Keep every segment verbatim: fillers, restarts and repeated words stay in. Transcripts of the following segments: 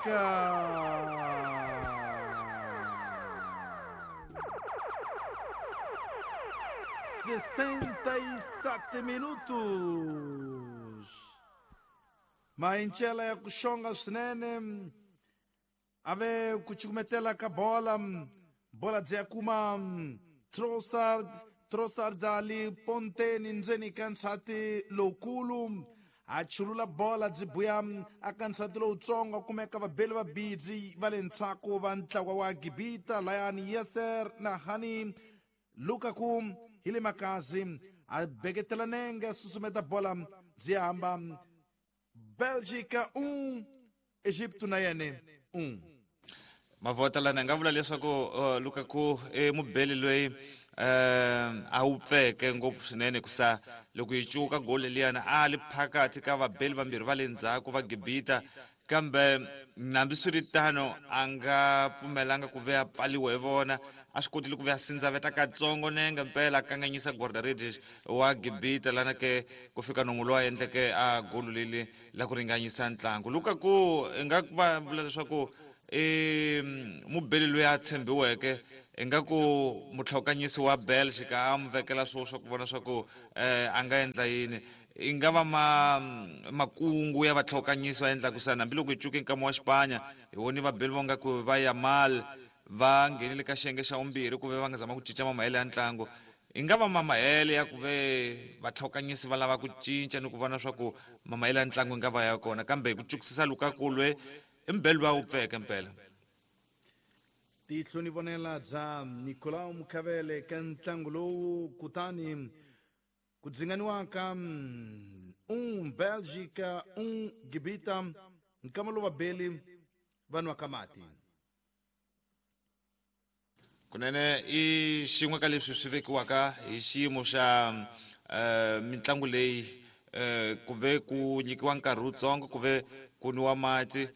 Bélgica. sessenta e sete minutos. Mainchela ya kushonga swinene ave kuchukumetela ka bola bola bya kuma Trossard Trossard ali ponteni ndzeni ka nsati lowukulu a chulula bola byi buya aka nsati lowutsongo kumeka vabeli va bidzi va le ndzhaku va ntlawa wa Gibita layani Yeser na Hani Lukaku hi le makazi a beketela nenge susumeta bola byi hamba Bélgica um Egipto na yene um. Mavota lana nga vula leswaku uh, Lukaku e mubeli loyi uh, a wu pfeke ngopfu swinene kusa loko yi cuka goli liyana a li phakathi ka vabeli vambirhi va le ndzhaku va Gibita kambe hambiswiritano a nga pfumelanga ku ve a pfaliwa hi vona a swi kotile ku ve a sindzaveta katsongo nenge mpela a kanganyisa guarda-redes wa Gibita lana ke ku fika nomu lowu a endleke a golu leli la ku ringanyisa ntlangu. Lukaku i nga va vula leswaku i mubeli loyi a tshembiweke ingaku mutlhokanyisi wa Belgica a mu vekela swo swa ku vona swa ku eh, a nga endla yini i nga va ma makungu ya vatlhokanyisi va endlaku sana hambiloko hi cuke nkama wa Xipanya hi voni vabeli vo nga ku va Yamal va nghenile ka xiyenge xa vumbirhi ku ve va nga zama ku cinca mamahele ya ntlangu i nga va mamahele ya ku ve vatlhokanyisi va lava ku cinca ni ku vona swa ku mamahele ya ntlangu i nga va ya kona kambe hi ku cukisisa Lukaku lwe i mubeli wa wu pfeke mpela. Tihlo ni vonela bya Nicolau Mukhavele ka ntlangu lowu kutani ku dzinganiwaka um Bélgica um Gibita nkama lowu vabeli va nwaka mati. Kunene i xin'we ka leswi swi vekiwaka hi xiyimo xa uh, mitlangu leyi uh, ku ve ku nyikiwa nkarhi wutsongo ku ve ku nwiwa mati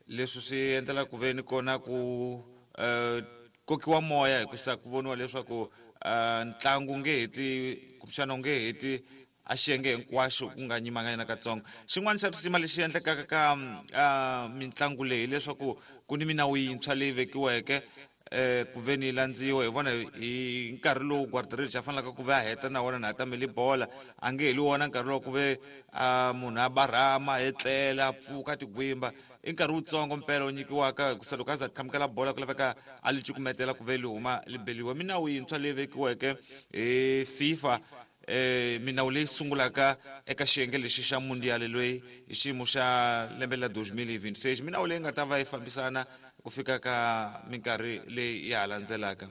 leswi swi endlela ku ve ni kona ku uh, kokiwa moya hikusa ku voniwa leswaku uh, ntlangu nge heti kumbexana u nge heti a xiyenge hinkwaxo ku nga nyimanga yena katsongo. Xin'wana xa risima lexi endlekaka ka uh, mitlangu leyi hileswaku ku ni minawu yintshwa leyi vekiweke eh ku ve ni landziwa hi vona hi nkarhi lowu guarda-redes a fanelaka ku ve a heta na wona na tamele bola a nge heli wona nkarhi lowu ku ve munhu a barhama etlela a pfuka tigwimba i nkarhi wutsongo mpela wu nyikiwaka hikusa loko a za qhamukela bola ku laveka a li cukumetela ku ve li huma li beliwa. Minawu yintshwa leyi vekiweke hi FIFA eh minawu leyi sungulaka eka xiyenge lexi xa mundial loyi hi xiyimo xa lembe la deux mille vingt-six minawu leyi nga ta va yi fambisana ku fika ka minkarhi leyi ya ha landzelaka.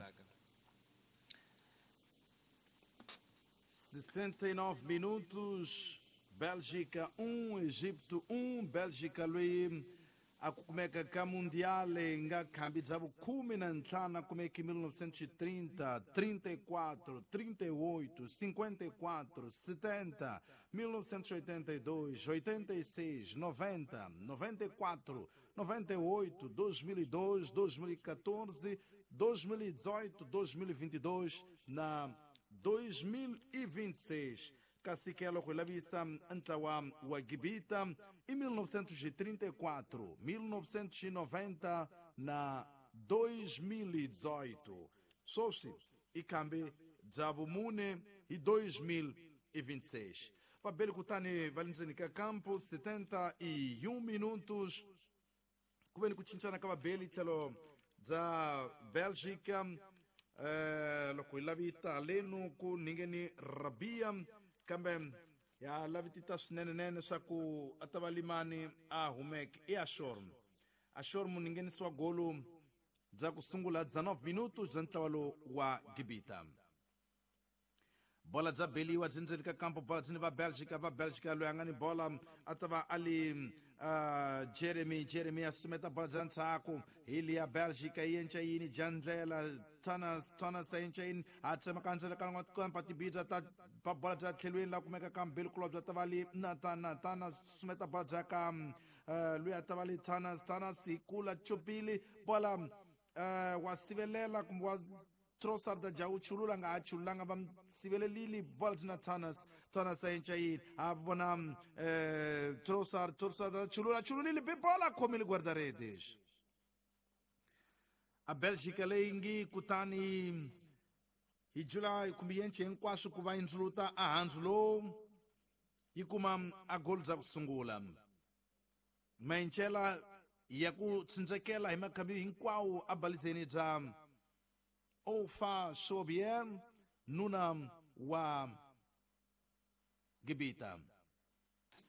sessenta e nove minutos, Bélgica um, Egipto um. Bélgica loyi a ku kumeka ka mundial nga khambi bya vukhume na ntlhanu a kumeke mil novecentos e trinta, trinta e quatro, trinta e oito, cinquenta e quatro, setenta, mil novecentos e oitenta e dois, oitenta e seis, noventa, noventa e quatro, noventa e oito, dois mil e dois, dois mil e quatorze, dois mil e dezoito, dois mil e vinte e dois na dois mil e vinte e seis. Caciquelo Lavisa ntlawa wa Gibita em mil novecentos e trinta e quatro, mil novecentos e noventa na dois mil e dezoito. Sosi ikambe dzavumune e dois mil e vinte e seis. Fabelo Kutani valinzenika campo setenta e um minutos. Kubeni kuchinchana ka vabeli tlhelo bya Bélgica eh loko hi lavita lenu ku ningeni Rabia kambe ya lavitita swinenenene swa ku a ta va limani a humeke i Ashor. Ashor muninghenisiwa golo bya ku sungula dezenove minutos bya ntlawa lowu wa Gibita. Bola bya beliwa byi ndzeni ka kampo bola byi ni va Bélgica va Bélgica loyi a nga ni bola a ta va a li uh, Jeremy Jeremy a sumeta bola bya ndzhaku hi liya Bélgica yi enca yini jandlela Thomas Thomas a enca yini a tsema ka ndzele ka kampa tibidza ta ba bola bya tlhelweni la kumeka ka mbili kulobye bya ta va li Nathan Nathan a sumeta bola bya ka uh, loyi a ta va li Thomas Thomas hi kula chupili bola uh, wa sivelela kumbe wa Trossard ja u chulula nga ha chululanga va sivelelile bola byi na Thomas Thomas a enca yini a vona eh, Trossard Trossard chulula chululile be bola khomile guarda-redes a Bélgica leyi ngi kutani hi July kumbe yenche hinkwaswo ku va yi ndzuluta a handzu lowu yi kuma a gol bya ku sungula maenchela ya ku tsindzekela hi makhambi hinkwawo a balizeni bya Ofa Sobier nuna wa Gibita.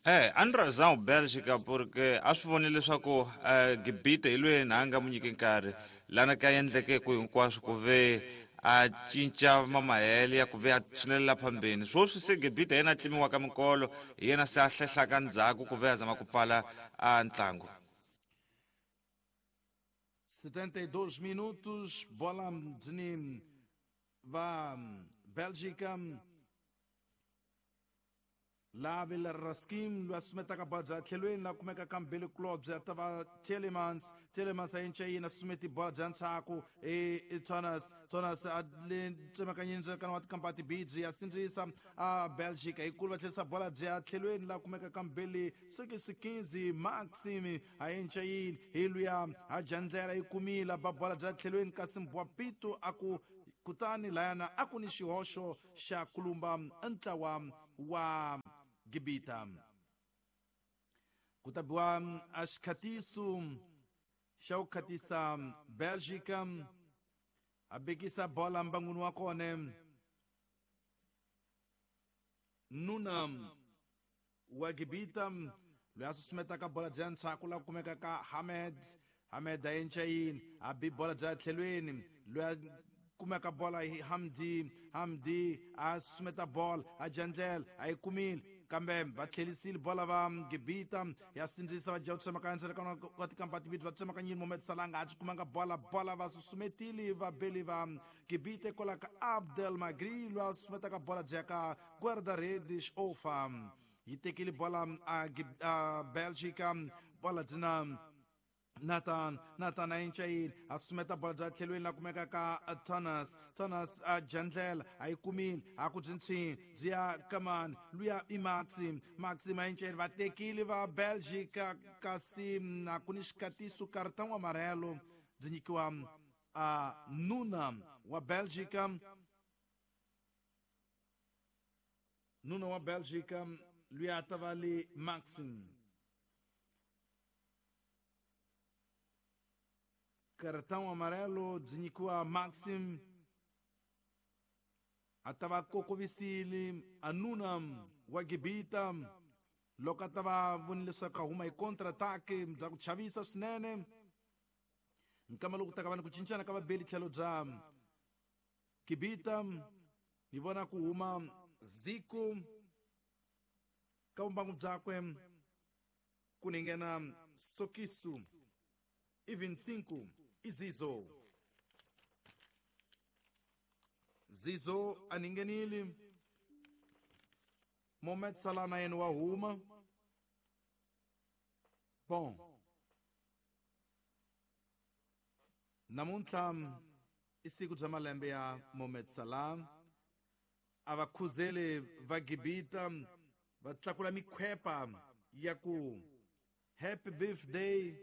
Eh, a ni razão Bélgica porque a swi vonile leswaku eh, Gibita hi loyi na a nga mu nyiki nkarhi lana ka endleke ku hinkwaswo ku ve a cinca mamahele ya ku ve a tshunelela phambeni swoswi se Gibita yena a tlimiwaka minkolo hi yena se a hlehlaka ndzhaku ku ve a zama ku pfala a ntlangu. setenta e dois minutos, bola de va Bélgica. Lá vela Raskim, lo assume taka bola bya tlhelweni la kumeka ka Mbele Club bya ta va Telemans, Telemans a enca yini assume bola bya ndzhaku e Thomas, Thomas a le tsemakanyeni ndzeni wa tikampani bidzi ya sindzisa a Bélgica hikulu va tlherisa bola bya tlhelweni la kumeka ka Mbele six quinze Maxime a enca yini hi luya a jandlela yi kumile ba bola bya tlhelweni kasi Mbwapito a ku kutani layana a ku ni xihoxo xa kulumba ntlawa wa Gibita. Ku ta biwa a xikhatiso xa ku khatisa Bélgica a bekisa bola mbangwini wa kona nuna wa Gibita loyi a susumetaka bola bya ndzhaku la kumeka ka Hamed Hamed a enca yini a bi bola bya tlhelweni loyi a kumeka bola hi Hamdi Hamdi a sumeta bola a jandlela a yi kumile kambe va tlhelisile bola va Gibita ya sindzisa va dya tsemakanya ndzeni ka tikampani timbirhi va tsemakanyile Mohamed Salah nga a byi kumanga bola bola va susumetile va beli va Gibita kwala ka Abdel Magri loyi a susumetaka bola bya ka guarda-redes Ofa yi tekile bola a, a Bélgica bola dyina Nathan Nathan a enca yini a sumeta bola bya tlhelweni la kumeka ka Thomas Thomas a jandlela a yi kumile a ku byi ntshini byi ya kamani luya i Maxim Maxim a enca yini va tekile va Bélgica kasi a ku ni xikatiso cartão amarelo byi nyikiwa a nuna wa Bélgica nuna wa Bélgica luya ta va le Maxim cartão amarelo byi nyikiwa Maxim a ta va kokovisile a nuna wa Gibita loko a ta va vonile leswaku a huma hi contre-attaque bya ku chavisa swinene nkama loko ta ka va ni ku cincana ka vabeli tlhelo bya Gibita ni vona ku huma Zico ka vumbangu byakwe ku ni nghena Sokisu e vinte e cinco e Zizo. Zizo aningenile. Mohamed Salah na yena wa huma. Bom. Namuntlha i siku bya malembe ya Mohamed Salah. A va khuzele va Gibita va tlakula mikhwepa ya ku happy birthday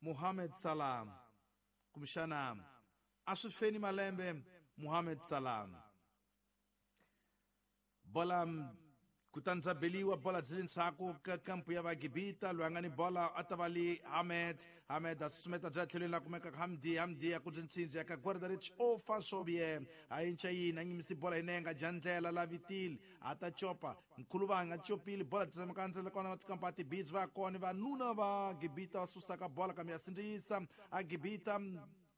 Mohamed Salah. Kumbexana a swi feni malembe Mohamed Salah. Bola kutani bya beliwa bola byi le ndzhaku ka kampu ya va Gibita loyi a nga ni bola a ta va le Hamed Hamed a susumeta bya tlhelweni la kumeka Hamdi Hamdi ya ku byi ntshindzi ya ka guarda-redes Ofa Sobier a enca yini a nyimisi bola hi nenga jandlela la vitile a ta copa nkhuluva a nga copile bola tsemaka ndzela kona va tikampani tibidzi va kona vanuna va Gibita va susaka bola kambe ya sindzisa a Gibita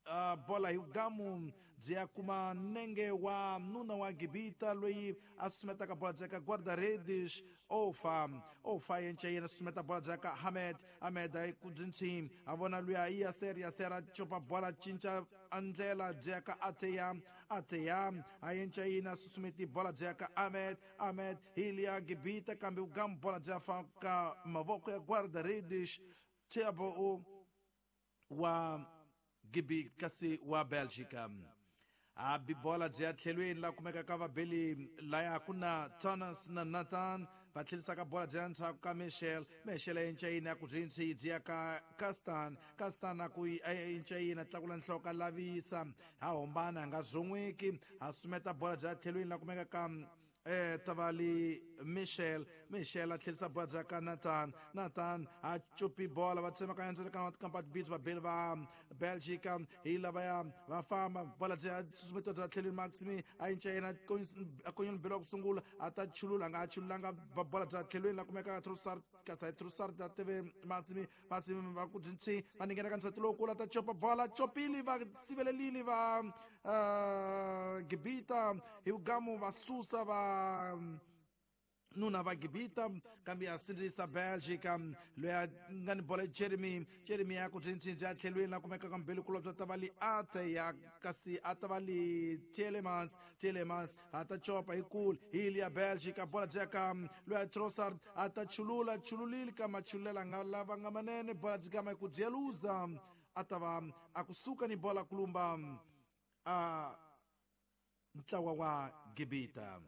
Uh, bola hi gamu byi ya kuma nenge wa nuna wa Gibita loyi a susumetaka bola bya ka guarda-redes Ofa Ofa yenca yena susumeta bola bya ka Hamed Hamed a ku byi ntshimi a vona luya i Yaser Yaser a copa bola cinca a ndlela byi ya ka Ateya Ateya a yenca yina susumeti bola bya ka Ahmed Ahmed hi liya Gibita kambe gamu bola bya fa ka mavoko ya guarda-redes Thiago wa Gibi kasi wa Bélgica. A bi bola byi ya tlhelweni la kumekaka vabeli laya ku na Thomas na Nathan va tlherisaka bola byi ya ndzhaku ka Michel. Michel a enca yini a ku byi byi ya ka Castan. Castan a ku enca yini a tlakula nhloko a lavisa ha hombana a nga zon'weki a sumeta bola byi ya tlhelweni la kumekaka eh tavali Michel. Michel a tlherisa bola bya ka Nathan. Nathan a chupi bola va tsemakanya ndzeni wa tikampa beats vabeli va Belgica hi lavaya va famba bola bya susumetiwa bya tlhelweni Maximi a enca yena a konyela mbelo wa ku sungula a ta chulula a nga chululanga bola bya tlhelweni la kumeka Trossard kasi Trossard a teve Maximi. Maximi va ku byi va ninghena ka nsati lowukulu a ta chopa bola chopile va sivelelile va uh, Gibita hi vugamu va susa va nuna va Gibita kambe ya sindzisa Belgica loyi a nga ni bola Jeremy. Jeremy ya ku byi ya tlhelweni la kumekaka mbeli kulobya ta va li ate ya kasi a ta va li Tielemans. Tielemans a ta chopa hi kule hi li ya Belgica bola byi ya ka loyi a Trossard a ta chulula chululile ka machululela nga lava nga manene bola byi gama hi ku dyeluza a ta va a kusuka ni bola kulumba a ntlawa wa Gibita.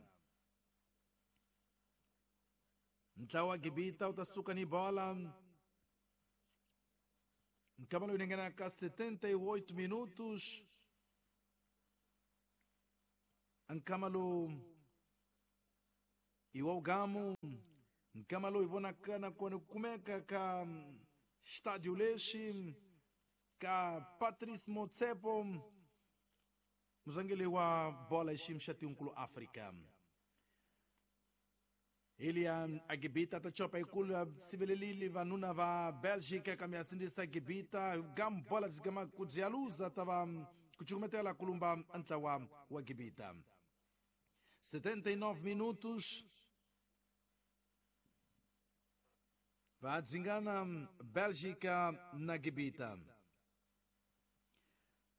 Ntlawa wa Gibita u ta suka ni bola nkama lowu nghena ka setenta e oito minutos. Nkama lowu i wa ugamu nkama lowu hi vonaka nakona ku kumeka ka estádio lexi ka Patrice Motsepe muzangeli wa bola xiyimo xa tinkulu Afrika. Elia a Gibita ta chopa ikulu a sivelelile vanuna va Belgica kambe a sindzisa Gibita gam bola byi gama ku dyaluza ta va ku cukumetela kulumba ntlawa wa Gibita. setenta e nove minutos va dzingana Belgica na Gibita.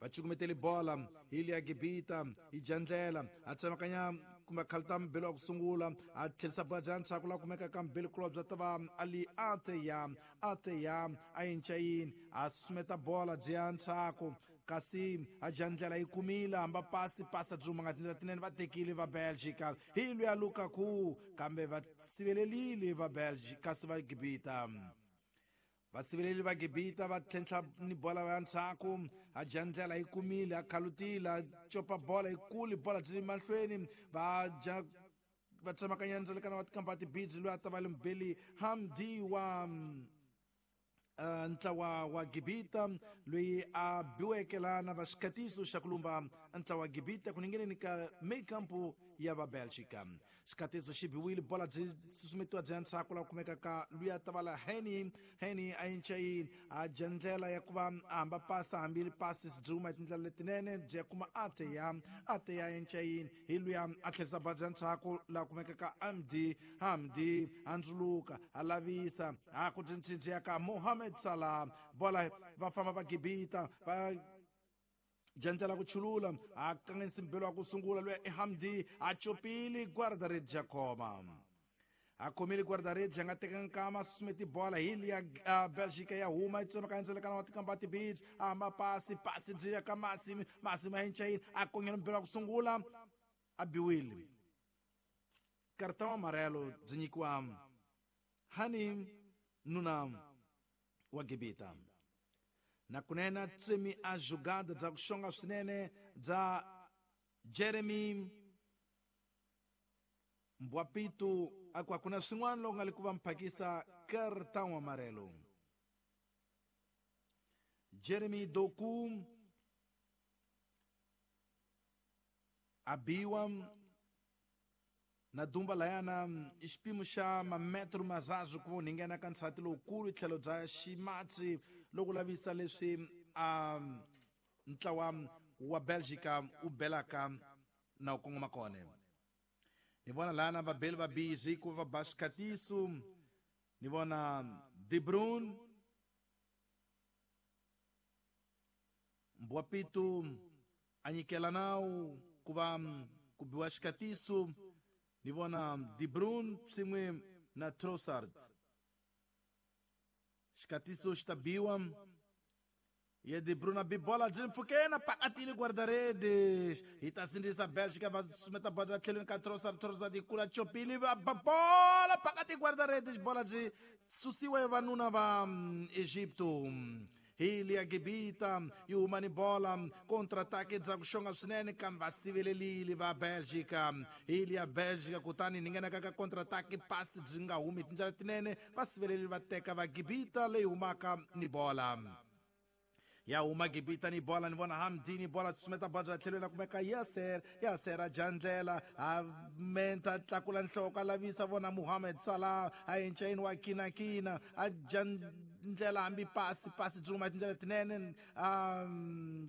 Va cukumetele bola hi liya Gibita hi dya ndlela a tsemakanya kumbe khalta mbelo wa ku sungula a tlherisa bola bya ndzhaku la kumeka ka mbelo kulobya ta va ali ate ya ate ya a enca yini a sumeta bola byi ya ndzhaku kasi a dya ndlela yi kumile hamba pasi pasa byi huma nga tindlela tinene va tekile va Belgica hi luya Lukaku kambe va sivelelile va Belgica kasi va Gibita. Vasiveleli va Gibita va tlhentlha ni bola ya ndzhaku a dya ndlela yi kumile a khalutile a copa bola yi kule bola byi le mahlweni va dya va tsemakanya ndzelekana wa tikampa tibiji loyi a ta va le mbeli Hamdi wa uh, ntlawa wa Gibita loyi a biweke lana va xikatiso xa ku lumba ntlawa wa Gibita ku ningeneni ka meikampu ya va Belgica. Xikatiso xi biwile bola byi susumetiwa byi ya ndzhaku la kumeka ka luya ta va la Henny. Henny a enca yini a dya ndlela ya ku va a hamba pasa hambi pasi byi huma hi tindlela letinene byi ya kuma ate ya ate ya enca yini hi luya a tlherisa bola bya ndzhaku la kumeka ka Hamdi. Hamdi a ndzuluka a lavisa a ku byi ya ka Mohamed Salah bola va famba va Gibita va dya ku chulula a kanganyisa mbelo wa ku sungula loyi i Hamdi a chopile guarda-redes ya khoma a khomile guarda-redes a nga tekanga nkama a susumeti bola hi liya Belgica ya huma yi tsemakanya ndzelekana wa tikampa tibiji a hamba pasi pasi byi ya ka Masimi. Masimi a enca yini a kongela mbelo wa ku sungula a biwile karta wa amarelo byi nyikiwa Hani nuna wa Gibita. Na kunene tsemi a jogada bya ku xonga swinene bya Jeremy Mbwapitu a ku a ku na swin'wana loko nga le ku va mphakisa cartão amarelo. Jeremy Doku a biwa na dumba layana i xipimo xa mametro mazazu ku va nghena ka nsati lowukulu tlhelo bya ximatsi loko lavisa leswi a ntlawa wa Belgica u belaka na u kongoma kona. Ni vona lana vabeli va busy ku va ba xikatiso. Ni vona De Bruyne Mbwapitu a nyikela nawu ku va ku biwa xikatiso. Ni vona De Bruyne swin'we na Trossard. Xikatiso xi ta biwa Ye De Bruyne bi bola byi mpfhukeni pakatile guarda-redes hi ta sindzisa Bélgica va sumeta bola tlhelweni ka Trossard. Trossard yi kula chopile va ba bola pakati guarda-redes bola byi susiwa hi vanuna va Egipto. Hi liya Gibita yi huma ni bola contra-attaque bya ku xonga swinene kambe va sivelelile va Bélgica. Hi liya Bélgica kutani ni nghenaka ka contra-attaque pasi byi nga humi tindlela tinene va sivelelile va teka va Gibita leyi humaka ni bola. Ya huma Gibita ni bola ni vona Hamdi ni bola tsumeta bola tlhelweni kumeka Yasser. Yasser a jandlela a menta tlakula nhloko a lavisa vona Mohamed Salah a encayini wa kinakina a jandlela hambi pasi pasi byi huma tindlela tinene a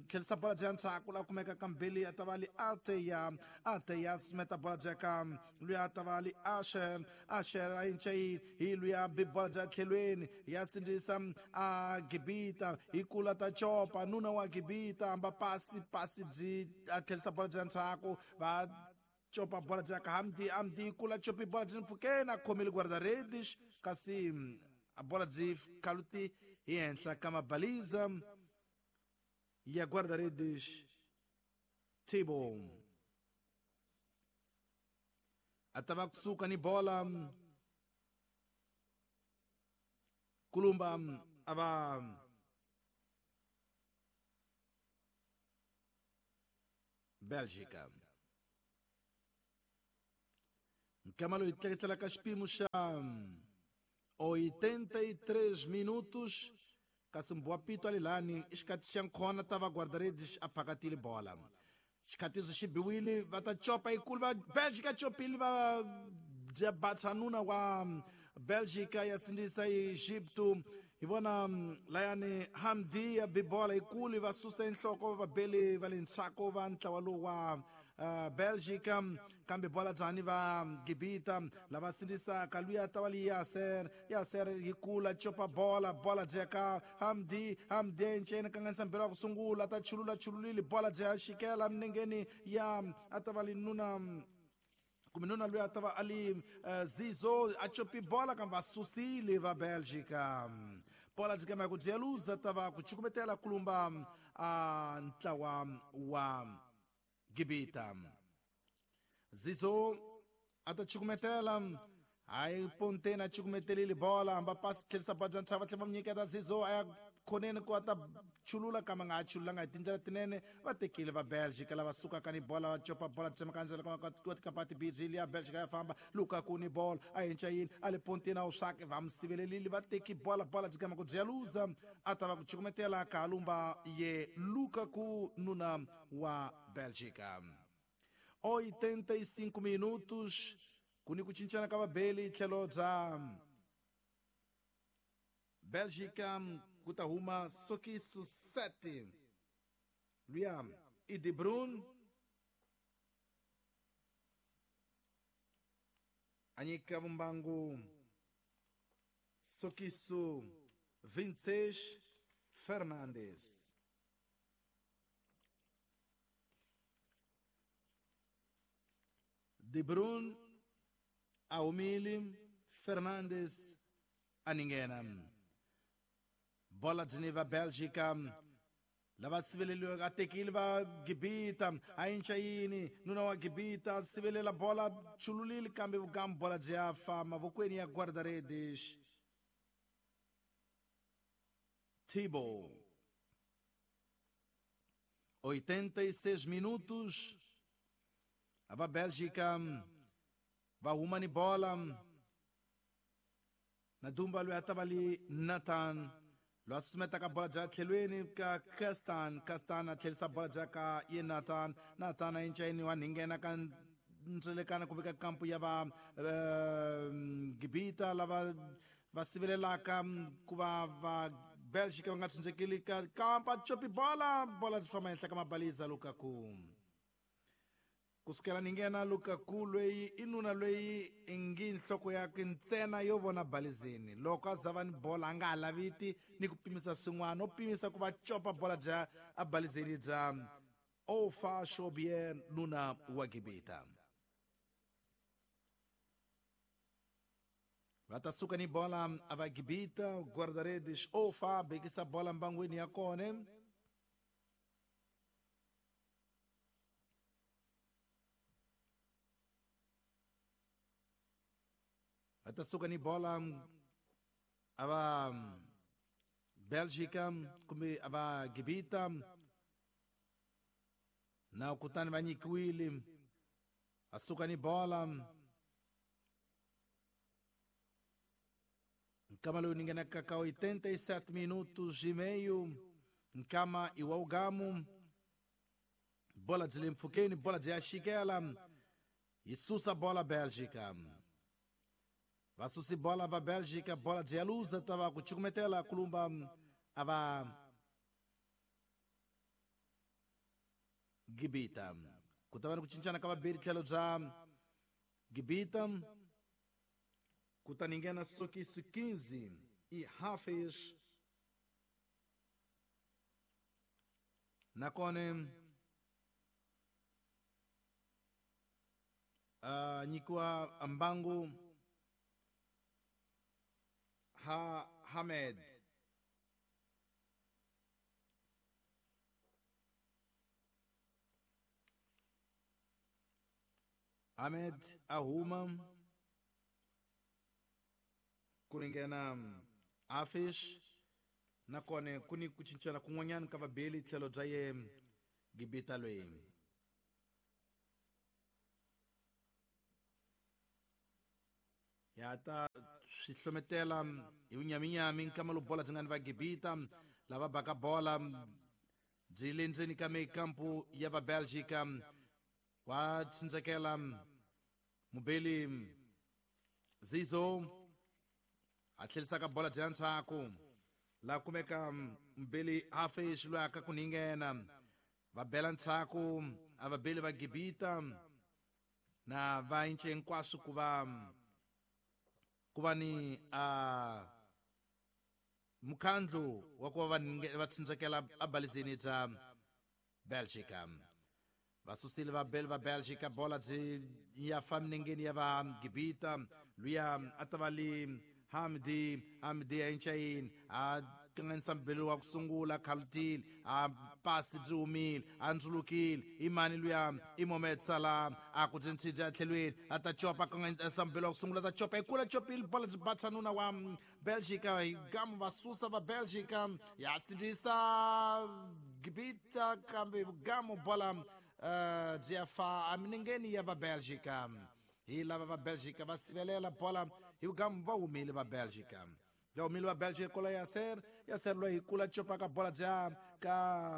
tlhelisa bola bya ndzhaku la kumeka kambili a ta va li Ateya. Ateya sumeta bola bya ka luya a ta va li Asher. Asher a encayini hi luya bi bola bya tlhelweni ya sindzisa a Gibita hi kula ta chopa nuna wa Gibita amba pasi pasi byi a tlhelisa bola bya ndzhaku va chopa bola bya ka Hamdi. Hamdi kula chopi bola byi mpfhukeni a khomile guarda-redes kasi a bola byi khaluti hi henhla ka mabaliza ya guarda-redes Thibaut. A ta va kusuka ni bola kulumba a va Bélgica. Nkama loyi tleketlela ka xipimo xa oitenta e três minutos kasi Mbuapito alilani xikati xa nkhona ta va guarda-redes a phakatile bola. Xikatiso xi biwile va ta chopa yikulu va Bélgica chopile va dya batsanuna wa Bélgica ya sindzisa Egipto. Hi vona layani Hamdi ya bibola yikulu va susa enhloko va beli va le ndzhaku va ntlawa lowu wa uh, Bélgica kambe bola dzani va Gibita lava sindzisaka luya ta va li Yasser. Yasser yi kula chopa bola bola dyeka Hamdi. Hamdi enceni kanganisa mbirhi wa ku sungula ta chulula chululile bola dya xikela minengeni ya a ta va li nuna kumbe nuna luya a ta va a li uh, Zizo a chopi bola kambe va susile va Bélgica. Bola byi kama ku dyeluza ta va ku chukumetela kulumba a ntlawa wa Gibita. Zizo a ta chukumetela hayi Pontena chukumetelile bola hamba pasi tlhelisa bola bya ntshava tlhela va nyiketa Zizo a ya khoneni ku a ta chulula kambe nga ha chululanga hi tindlela tinene va tekile va Bélgica lava sukaka ni bola va copa bola tsemaka ndzela ka tikapati biji ya Bélgica ya famba Lukaku ni bola a henca yini a le Pontena u swake va mi sivelelile va teki bola bola byi kama ku dyeluza a ta va ku chukumetela ka lumba ye Lukaku nuna wa Bélgica. oitenta e cinco minutos ku ni ku cincana ka vabeli tlhelo bya Bélgica ku ta huma Sokiso sete luya i De Bruyne a nyika vumbangu Sokiso vinte e seis Fernandes. De Bruyne a humile Fernandes a ninghena. Bola byi ni va Bélgica lava siveleliweke a tekile va Gibita a inca yini nuna wa Gibita sivelela bola chululile kambe vukambu bola byi ya fa mavokweni ya guarda-redes Thibaut. oitenta e seis minutos a va Bélgica va huma ni bola na dumba loyi a ta va li Nathan loyi a susumetaka bola bya tlhelweni ka Kastan. Kastan a tlhelisa bola bya ka ye Nathan. Nathan a encayini wa ninghena ka ndzelekana kumbe ka kampu ya va uh, Gibita lava va sivelelaka ku va va Bélgica va nga tshunxekeli ka kampa chopi bola bola byi famba henhla ka mabaliza Lukaku. Kusukela ni nghena Lukaku loyi i nuna loyi i ngi nhloko yakwe ntsena yo vona balizeni loko a za va ni bola a nga ha laviti ni ku pimisa swin'wana o pimisa ku va copa bola bya a balizeni bya Ofa Shobier nuna wa Gibita. Va ta suka ni bola a va Gibita guarda-redes Ofa bekisa bola mbangwini ya kona. Va ta suka ni bola a va Bélgica kumbe a va Gibita na kutani va nyikiwile a suka ni bola nkama lowu ni nghenaka ka oitenta e sete minutos e meio nkama iwaugamu bola byi le mpfhukeni bola byi ya xikela yi susa bola Bélgica va susi bola va Bélgica bola byi ya luza ta va ku cukumetela kulumba a va Gibita ku ta va ni ku cincana ka vabeli tlhelo bya Gibita kutani nghena sokisi quinze e Hafiz nakona uh, nyikiwa mbangu ha Hamed Ahmed ahuma ku ringena Hafiz nakona ku ni ku cincana kun'wanyana ka vabeli tlhelo bya ye Gibita loyi ya ta swi hlometela hi vunyaminyami nkama lowu bola byi nga ni va Gibita lava baka bola byi le ndzeni ka mikampu ya va Bélgica wa tsindzekela mubeli Zizo a tlherisaka bola bya ndzhaku la kumeka mubeli Hafiz loyi aka ku ninghena va bela ndzhaku a vabeli va Gibita na va ince hinkwaswo ku va ku va ni a mukhandlu wa ku va va tsindzekela abalizeni bya Bélgica va susile vabeli va Bélgica bola byi ya fa minengeni ya va Gibita luya a ta va li Hamdi Hamdi a incayini a kanganyisa mubeli wa ku sungula khalutile a pasi byi humile a ndzulukile i mani luya i Mohamed Salah a ku byi ntshidya tlhelweni a ta copa kanganyisa mubeli wa ku sungula ta copa hi kula copile bola byi batsa nuna wa Bélgica hi gamu va susa va Bélgica ya sindzisa Gibita kambe gamu bola uh, byi ya fa eminengeni ya va Bélgica hi lava va Bélgica va sivelela bola hi gamu va humile va Bélgica va humile va Bélgica kola Yasser Yasser loyi hi kula copaka bola bya ka